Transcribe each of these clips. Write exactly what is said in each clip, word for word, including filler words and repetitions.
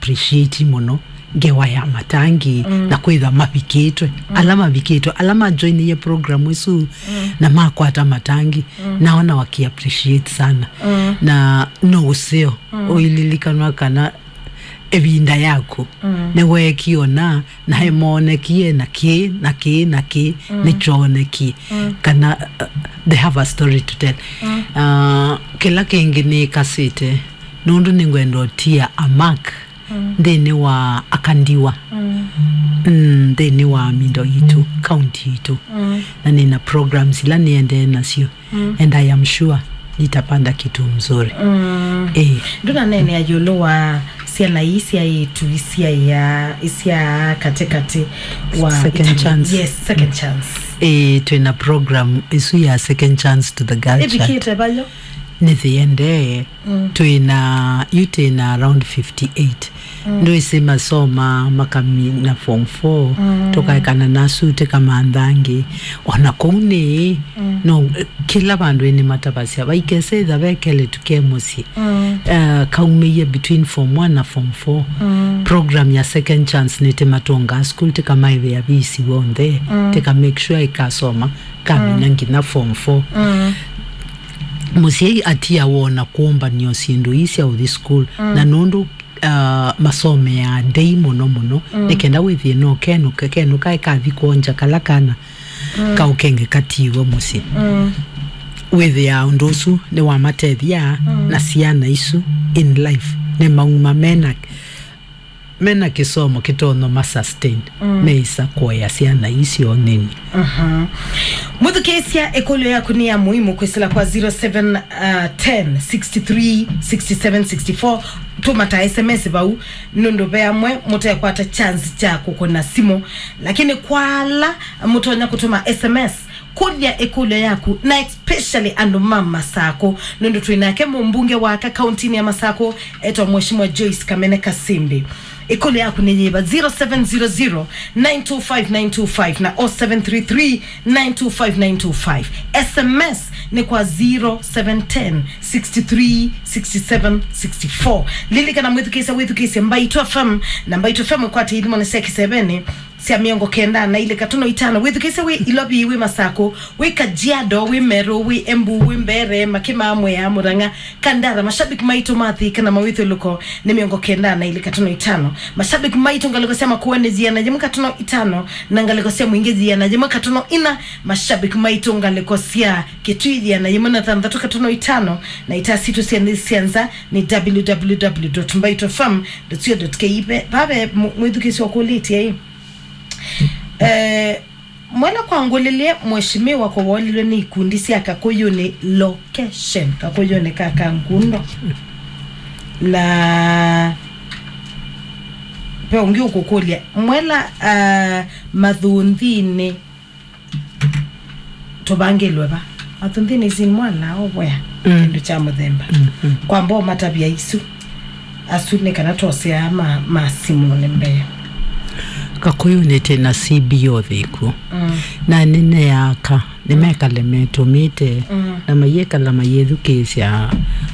appreciate mũno ngewa ya Matangi, mm, na kwĩtha mavikĩtwe. Mm. Ala mavikĩtwe, ala majoinĩie program ĩsu, mm, na makwata Matangi, mm, nao na waki appreciate sana. Mm. Na no ũseo, mm, ũililikanwa kana ĩvinda yaku, mm, nĩweekie ũna, na emonekie na kĩ, na kĩ, na kĩ, mm, nĩkyonekie. Mm. Kana, uh, they have a story to tell. Mm. Uh, kĩla kĩngĩ nĩkasĩte, nũndũ nĩngwenda ũtia a mark, mm, nthĩnĩ wa Akandiwa. Mm. Mm, nthĩnĩ wa Mindo yitũ, county yitũ. Mm. Na nĩna programs ila nĩendee nasyo. Mm. And I am sure nitapanda kitu mzuri. Mm. Eh. Ndũnaneenea ĩũlũ wa syana ii sya ĩtu isyaĩa, isya katĩkatĩ wa second ita-, chance. Yes, second chance. Eh, twĩna program ĩsu ya second chance to the girl child. Ĩvikĩte vayo? Nĩthiendee. Mm. Twĩna, yu twĩna around fifty-eight. Mm. Ndwĩsĩ masoma makamina form four, mm, tũkaekana nasu tĩkamanthangi. Ona kũu nĩ, mm, no, kĩla vandũ ĩnĩ matavasya, vaikese ĩtha vekele tuke mũsyĩ. Mm. Uh, kaumĩie between form one na form four. Mm. Program ya second chance nĩtĩmatongaa school, tĩkamaĩvĩa visi w'onthe, mm, tĩka make sure ĩkasoma, kamina, mm, nginya form four. Mm. Mũsyai atia wona kũmbanio syĩndũ ii sya ũthi school, mm, na nũndũ uh, masomeaa ndei mũno mũno, mm, nĩ kenda wĩthĩe no kenũke, kenũka ĩkathi kwonja kala kana, mm, kaũkenge katiwe mũsyĩ. Mm. Wĩthĩaa ũndũ ũsu nĩwamatethya, mm, na syana isu in life nĩmauma mena, mena kĩsomo kĩtonya ma sustain, mm, meĩsa kũea syana isyo nini. Mhm. Mwĩthukĩĩsya, ĩkũlyo yaku nĩ ya mũimu kwĩsĩla kwa zero seven ten sixty three sixty seven sixty four. Tũma ta S M S vau, nũndũ ve amwe mũtekwata chance kya kũkũna simũ. Lakini kwa ala mũtonya kũtũma S M S, kũlya ĩkũlyo yaku, na especially andũ ma Masakũ, nũndũ twĩ nake mũmbunge wa aka kauntinĩ ya Masakũ, etwa Mheshimiwa Joyce Kamene Kasimbi. Ĩkũlyo yaku nĩ yĩva? Zero seven zero zero nine two five nine two five na oh seven three three nine two five nine two five. S M S nĩ kwa zero seven ten sixty three sixty seven sixty four. Lilikana mwĩthukĩĩsya, wĩthukĩĩsye Mbaitũ F M, na Mbaitũ F M ĩkwatĩe ithimone sya kĩsevenĩ sya mĩongo kenda na ilĩ katono itano. Wĩthukĩĩsye wĩ Ilovi, wĩ Masakũ, wĩ Kajiado, wĩ Meru, wĩ Embu, wĩ Mbeere, Makima, Mwea, Murang'a, Kandara. Mashabiki maitũ ma Thika na mawĩthyũlũko nĩ mĩongo kenda na ilĩ katono itano. Mashabiki maitũ ngalĩko sya Makueni yĩana yĩmwe katono itano, na ngalĩko sya Mwingi yĩana yĩmwe katono ina. Mashabiki maitũ ngalĩko sya Kitui yĩana yĩmwe na thanthatũ katono itano, na itaa sitũ sya nthĩ sya nza nĩ w w w dot mbaitũ f m dot co dot k e. Vave mu-, mwĩthukĩĩsya ũkũlĩtye ĩ. Eh, Mwela kwangũlĩlye, mheshimiwa kũwolilwe nĩ ikundi sya Kakũyũnĩ location, Kakũyũnĩ ka Kangundo. Na ve ũngĩ ũkũkũlya, Mwela, ah, Mathunthĩnĩ tũvangĩlwe va? Mathunthĩnĩ isin mwana ũvwea, mm, kĩndũ kya mũthemba. Mm, mm. Kwamba ũmatavya isu. Asu nĩ kana twoseaa ma, ma simũnĩ mbee. Kakũyũnĩ twĩ na C B O thĩku. Mm. Na nĩneaka, nĩmekale metũmĩte, mm, na mayĩkala mayĩthukĩĩsya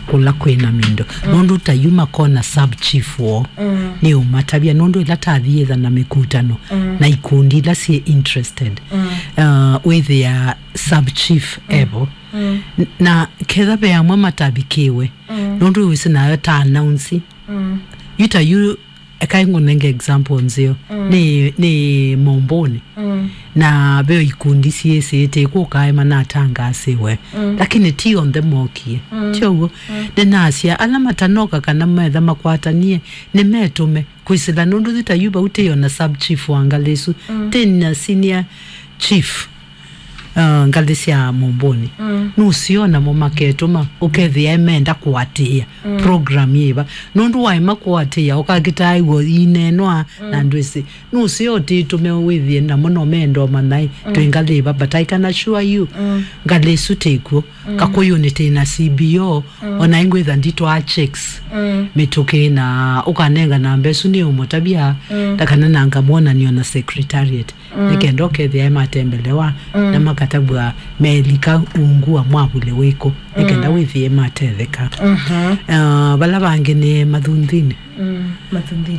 kũla kwĩ na mindo. Mm. Nũndũ ta yu makona sub chief woo, mm, nĩũmatavya, nũndũ ĩla tathiĩtha na mĩkutano, mm, na ikundi ila syĩ interested, mm, uh, wĩthĩa sub chief, mm, evo. Mm. N-, na ketha ve amwe matavikĩwe, mm, nũndũ wĩsĩ nayo ta announce. Mm. Yu ta yu, eka ngũnenge example nzeo. Mm. Nĩ, nĩ Momboni. Mm. Na ve ikundi syĩsĩte kũkae manatangaasiwe. Mm. Lakini ti onthe mokie. Mm. Ti ũguo? Mm. Nĩnasya, ala matanoka kana metha makwatanie, nĩmetũme. Kwĩsĩla nũndũ ti ta yu vau tĩ ona sub chief wa ngalĩ isu. Mm. Tĩ na senior chief, uh, ngalĩ sya Momboni. Mm. Nũseo namo maketũma, ũkethĩa menda kũatĩĩa, mm, program yĩva. Nũndũ waema kũatĩĩa, ũkakĩtaa w'o ineenwa, mm, na ndwĩsĩ. Nũseo ũtĩtũme wĩthĩe namo no menda ũmanya, mm, twĩ ngalĩ ĩva, but I can assure you, mm, ngalĩ isu tĩkw'o. Mm. Kakũyũnĩ tĩ na C B O, mm, ona ingwĩtha nditwaa checks, mm, mĩtũkĩ na ũkanenga namba ĩsu nĩ ũmũtavya, mm, ta kana nanga mwonanio na secretariat. Mm. Nĩ kenda ũkethĩa matembelewa, mm, na makatavw'a melika ungu wa mwavuli wĩkũ, nĩ kenda, mm, wĩthĩe matetheka. Mhm. Ah, vala vangĩ nĩ Mathunthĩnĩ. Mm, Mathunthĩnĩ.